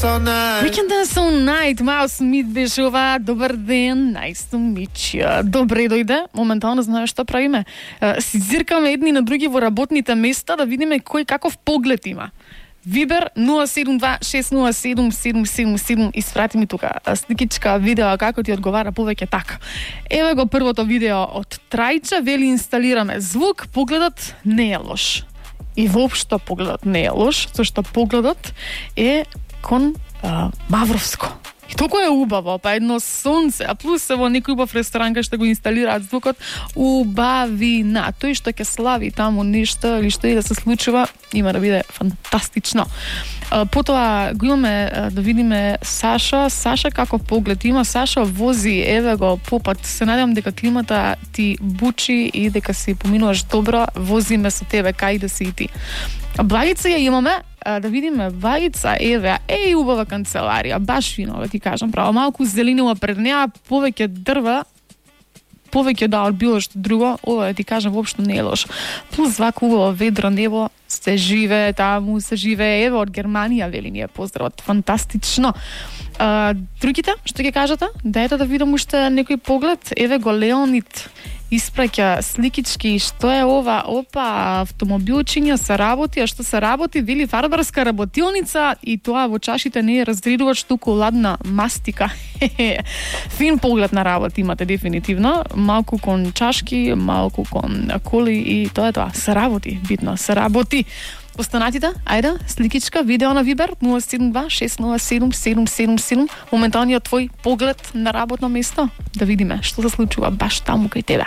all night. We can dance all night. Мал Смит беше ова. Добар ден, nice to meet you. Добре дојде. Моментално знаеш што правиме. Си зиркаме едни на други во работните места да видиме кој каков поглед има. Вибер 072-607-777 испрати ми тука сликичка, видео како ти одговара повеќе така. Еве го првото видео од Трајче, вели инсталираме звук, погледот не е лош. И воопшто погледот не е лош, зашто погледот е кон Мавровско. И толку е убаво, па едно сонце, а плюс во некој убав ресторан кај што го инсталираат звукот, убавина. Тој што ќе слави таму нешто или што и да се случува, има да биде фантастично. Потоа го имаме да видиме Саша како поглед има. Саша вози, еве го попат. Се надевам дека климата ти бучи и дека си поминуваш добро, возиме со тебе кај да си и ти. Вајица ја имаме, да видиме Вајица, еве, убава канцеларија, баш фино, да ти кажам, право, малку зеленила пред неа, повеќе дрва, повеќе од било што друго, ова да ти кажам воопшто не е лошо. Плюс вака убаво ведро небо, се живее таму, се живее, еве од Германија вели ни е поздравот, фантастично. Другите, што ќе кажете? Дајте да видам уште некој поглед. Еве го Леонид испраќа сликички, што е ова? Опа, автомобилчиња се работи, а што се работи? Вели фарбарска работилница и тоа во чашите не е разредувач, туку ладна мастика. Фин поглед на работа имате дефинитивно. Малку кон чашки, малку кон коли и тоа е тоа. Се работи, битно, се работи. Останатите, ајде, сликичка, видео на Вибер 072-607-777. Моменталниот твој поглед на работно место. Да видиме што се случува баш таму кај тебе.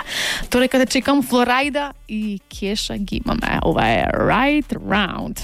Тоа дека да чекам Флорајда и Кеша ги имаме. Ова е Right Round.